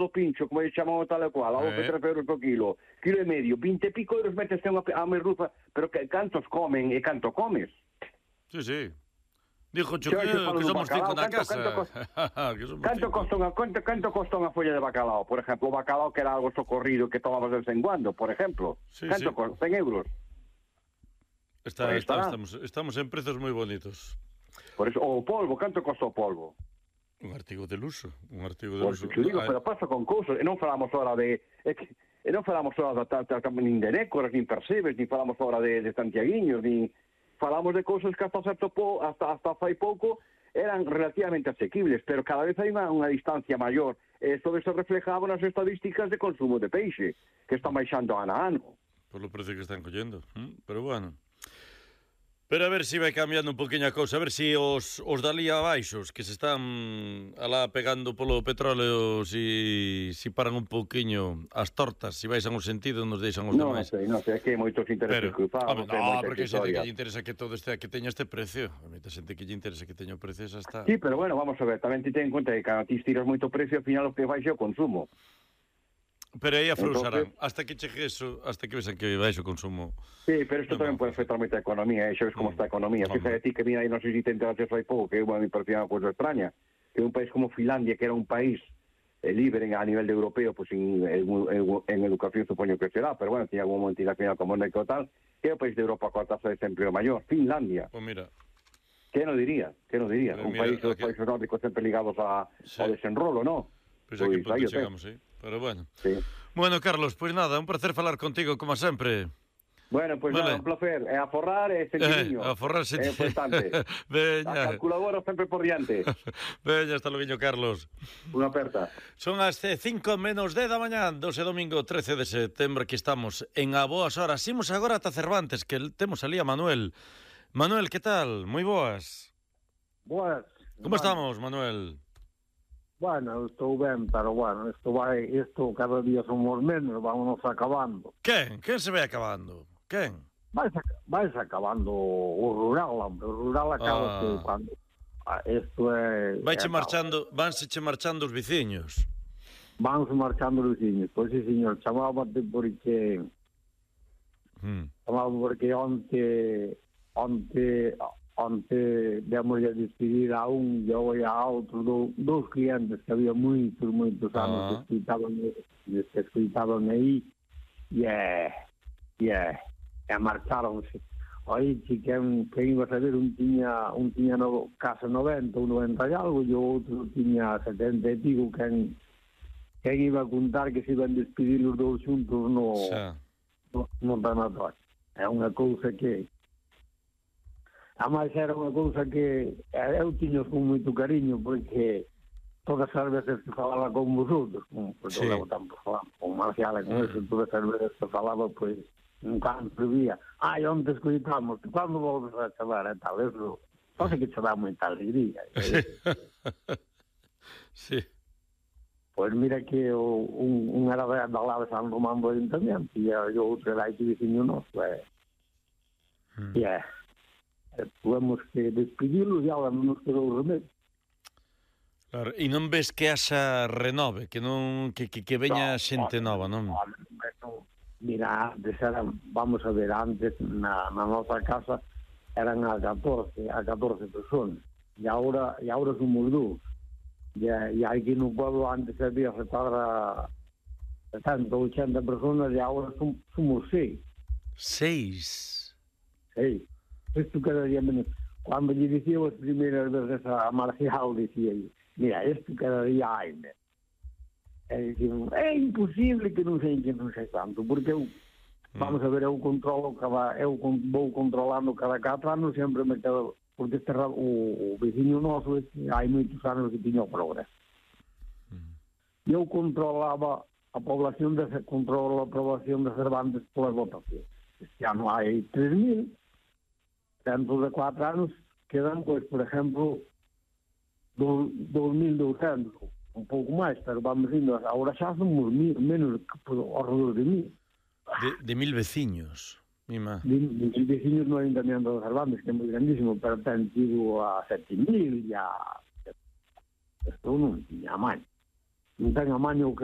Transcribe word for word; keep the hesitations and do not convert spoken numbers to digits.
do pincho, como lle chamamos tal e cual, a doce, Eh. trece euros por kilo, kilo e medio, vinte e pico euros metes a, a merluza, pero que, cantos comen e canto comes? Sí, sí. Dijo Xa, que, xa falo que dun somos bacalao, cinco na canto- casa. canto cos- que somos Canto cinco. costa, unha, canto, canto costa unha folla de bacalao? Por exemplo, o bacalao que era algo socorrido que tomabas de vez en cuando, por exemplo. Sí, Canto sí. costa? cen euros. Está, Por aí está, estará. estamos, estamos en precios moi bonitos. Por eso, o polvo, canto costa o polvo? Un artigo de luso, un artigo de Por luso. eso te digo, Ah, pero pasa con cousas, e non falamos ahora de... É que, e non falamos ahora da, da, da, nin de nécoras, nin percebes, nin falamos ahora de, de santiaguiños, nin... Falamos de cousas que hasta certo po, hasta, hasta fai pouco eran relativamente asequibles, pero cada vez hai unha, unha distancia maior. E isto se reflejaba nas estadísticas de consumo de peixe, que están baixando ano a ano. Por lo precio que están collendo. ¿m? Pero bueno. Pero a ver se si vai cambiando un poquinho a cousa. A ver se si os, os dalí abaixos, que se están alá pegando polo petróleo, si, si paran un poquinho as tortas, si baixan o sentido, nos deixan os Non demais. sei, non sei, é que hai moitos intereses Pero, cruzados, home, hai no, moita porque hai xente que historia. lle interesa que todo este, que teña este precio. A moita xente que lle interesa que teña o precio, xa está. Sí, pero bueno, vamos a ver, tamén te ten en conta que cando ti tiras moito precio, ao final o que baixa é o consumo. Pero aí afrousarán. Entonces- Hasta que chegue eso, hasta que vexan que baixe o consumo. Sí, pero isto Non, tamén non, pode afectar moito a economía, eh? Xa ves como Mm. está a economía. Home. Fíjate ti que mira aí, non sei se te enteraste hai pouco, que é unha me parecía unha cousa extraña, que un país como Finlandia, que era un país eh, libre a nivel de europeo, pues en, en, en, en educación supoño que será, pero bueno, tiene algún multinacional como Neco tal, que é o país de Europa coa tasa de desempleo maior, Finlandia. Pois mira, Que non diría? Que non diría? Pero Un mira, país, os aquí- países nórdicos sempre ligados a, Sí. ao desenrolo, non? pois aquí Pois, punto aí o ten. chegamos, sí. Pero bueno. Sí. Bueno, Carlos, pois nada, un placer falar contigo, como sempre. Bueno, pues Vale. nada, un placer. É a forrar e Eh, sentidiño. a forrarse. É importante. A Veña, calculadora sempre por diante. veña, hasta logo, Carlos. Unha aperta. Son as cinco menos dez da mañán, doce domingo trece de setembro, que estamos en a boas horas. Imos agora ata Cervantes, que temos ali a Manuel. Manuel, que tal? Moi boas. Boas. Como estamos, Manuel? Bueno, estou ben, pero bueno, isto vai, isto cada día somos menos, vámonos acabando. Quen? Quen se vai acabando? Quen? Vais, vais acabando o rural, hombre, o rural acaba Ah. que cando... Ah, isto é... Vaiche é, marchando, vanse che marchando os viciños. Vanse marchando os viños. Pois sí, señor, chamábate porque... Hmm. Chamábate porque onte... Onte... Onte demos a despedir a un e hoy a outro do, dos clientes que había moitos, moitos anos Ah. que escutaban, que escutaban aí e é, e é, e marcharonse. Aí si quen, quen iba a saber, un tiña, un tiña no, casa noventa ou noventa e algo e o outro tiña setenta e pico, quen, quen iba a contar que se iban despedir os dous xuntos no, Xa. no, no tanatorio. É unha cousa que ademais era unha cousa que eu tiño con moito cariño porque todas as veces que falaba con vosotros, como porque Sí. eu levo tempo falando con Marcial e con Mm. eso, todas as veces que falaba, pois, un canto vía, ai, onde escoitamos, cando volves a chamar e tal, eso, só sei que che dá moita alegría. Sí. Pois mira que o, un, un era da lado de San Román do Ayuntamiento e o outro era aquí veciño noso, e, Mm. e é, e tuvemos que despedilos e agora non nos quedou remedio. Claro, e non ves que haxa renove, que non que, que, que veña xente nova, non? Mira, antes eran, vamos a ver, antes na, na nosa casa eran a catorce, a catorce personas. E agora, e agora somos dous. E, e aquí no pueblo antes había se cuadra setenta, oitenta personas e agora som, somos seis. Seis. Seis. Isto cada día menos. Cando lle dicía as primeiras veces a Marcial, dicía, mira, isto cada día hai, né? E dicían, é imposible que non sei que non sei tanto, porque eu, vamos a ver, eu controlo cada, eu con, vou controlando cada catro anos, sempre me quedo, porque este, o, o veciño noso, este, hai moitos anos que tiña o progreso. Mm. Eu controlaba a población, de, controlo a población de Cervantes polas votacións. Este ano hai tres mil, dentro de cuatro anos quedan, pois, por exemplo, dos mil douscentos, un pouco máis, pero vamos indo, agora xa somos mil, menos que ao redor de mil. De, de mil veciños, mima. De, de mil veciños no Ayuntamiento de Cervantes, que é moi grandísimo, pero ten tido a sete mil, e a... Isto non tiña amaño. Non ten amaño que